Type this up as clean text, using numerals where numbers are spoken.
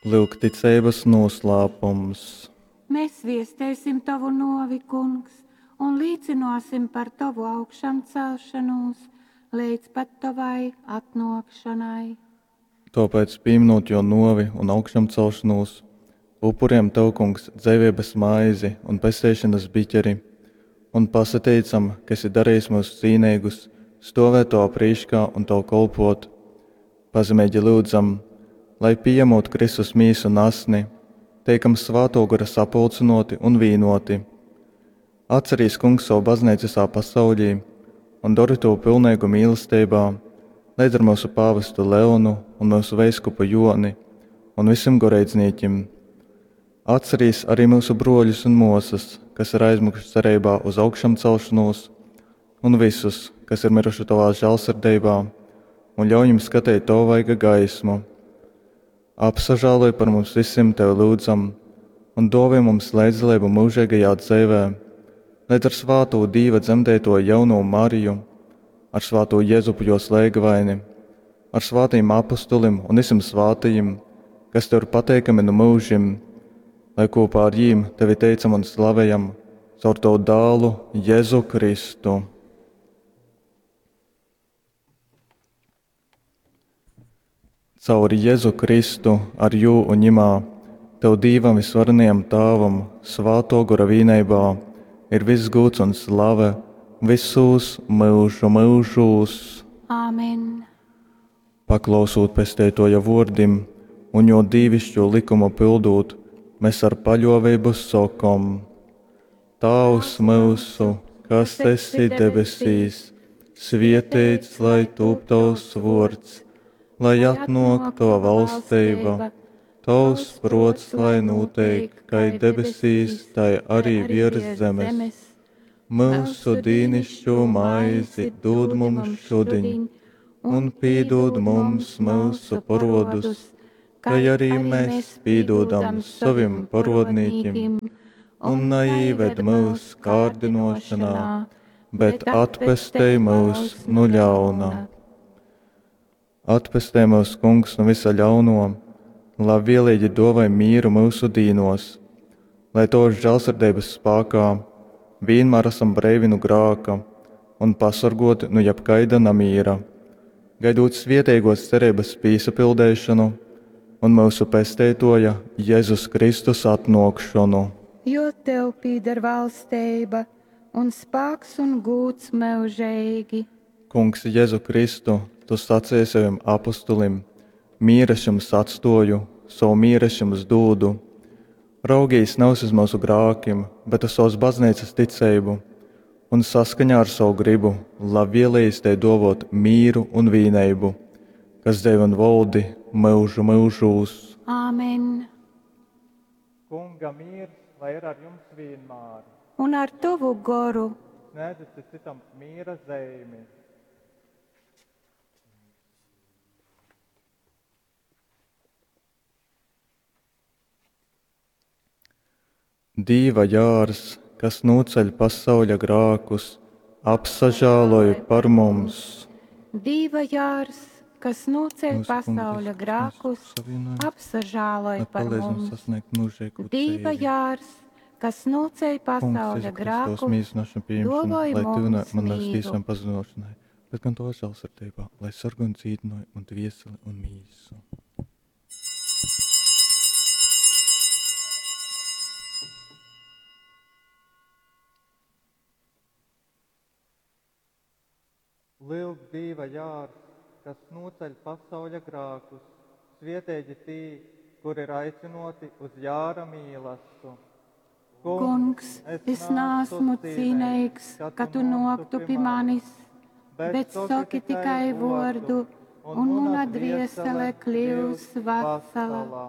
Lyuk ticeibas nūslāpums. Mēs viesteisim tovu nōvi, Kungs, un līcynōsim par tovu augšamcelšanūs leidz pat tovai atnōkšonai. Tōpēc, pīminūt jō nōvi un augšamcelšanūs, upurejam Tev, Kungs, dzeiveibas maizi un pesteišonas biķeri, un pasateicam, ka esi darījis myus cīneigus stovēt Tovā prīškā un Tev kolpot. Pazemeigi lyudzam, lai pījamūt Kristus mīsu un asni, teikam Svātō Gora sapulcynōti un vīnōti. Atcerīs, Kungs, savu baznīcu visā pasaulī un dori tū pilneigu mīlesteibā, leidz ar myusu pāvestu Leonu un myusu veiskupu Joni un visim goreidznīkim. Atcerīs arī myusu bruoļus un muosys, kas ir aizmiguši cereibā uz augšamcelšanos, un visus, kas ir miruši tovā žēlsirdībā, un ļauj viņiem skatīt tavu vaiga gaismu. Apsažāloj par mums visiem, tevi lūdzam, un dāvā mums līdzdalību mūžīgajā dzīvē, līdz ar svāto Dīva dzemdēto jauno Mariju, ar svāto Jēzupu jos lēgvaini, ar svātajiem apustulim un visiem svātajiem, kas tev ir pateikami no mūžim, lai kopā ar jīm tevi teicam un slavējam caur tavu dālu Jēzu Kristu. Caur Jēzu Kristu, ar jū un ņimā, tev Dīvam visvarenajam Tāvam, svāto gora vīneibā, ir viss gūds un slave visūs myužu myužūs. Āmen. Paklausūt pesteitoja vōrdim un jo dīvišķo likumu pildūt, mēs ar paļōvību sokom: Tāvs myusu, kas esi debesīs, svietēts lai tūp tavs vōrds, lai atnōk tava valstība, tavs prots, lai notiek, kai debesīs, tai arī virs zemes. Mūsu dīnišķo maizi dod mums šodien, un pīdod mums mūsu parodus, kai arī mēs pīdodam saviem parodnīkim, un neīved mūs kārdinošanā, bet atpestej mūs no ļauna. Atpestej mūs, Kungs, no visa ļauno, labvēlīgi dāvāj mīru mūsu dīnos, lai Tavas žēlsirdības spēkā vienmēr esam breivi no grāka un pasargoti no jebkaida namīra, gaidot svietīgos cerības pīsapildēšanu un mūsu pesteitoja Jēzus Kristus atnākšanu. Jo tev pīder valstība un spāks un gūds mūžīgi. Kungs Jēzu Kristu, tu sacīji saviem apustulim: Mīru es jums atstoju, savu mīru es jums dūdu. Raugīs nevis uz mūsu grākiem, bet uz savas baznīcas ticību, un saskaņā ar savu gribu labvēlījis te dovot mīru un vīneibu, kas diev un valdi mūžu mūžūs. Āmen. Kunga miers, lai ir ar jums vienmēr. Un ar tavu goru. Sniedzat citam miera zīmi. Dīva jārs, kas noceļ pasauļa grākus, apsažāloj par mums. Dīva jārs, kas noceļ Mūsu Kungs pasauļa Jēzus grākus, Kristus savienojums, apsažāloj lai par palīdz mums mums. sasniegt mūžīgo Dīva dzīvi. jārs, kas noceļ Kungs, pasauļa Jēzu Kristus, grākus, mīlestināšanu pieņemšanu, dāvāj lai tuvinātu mums man nevis mīru. tīsām pazudošanai, bet gan to žēlsirdībā, lai sargā un dzīdinoja un dvieseli un mīsu. Lūk, Dieva jārs, kas noceļ pasauļa grākus, svietēji tī, kur ir aicinoti uz jāra mīlastu. Kungs, es nāsmu cīnīgs, ka tu noktu pie manis, bet saki tikai vordu, un mana dviesele kļūs vesela.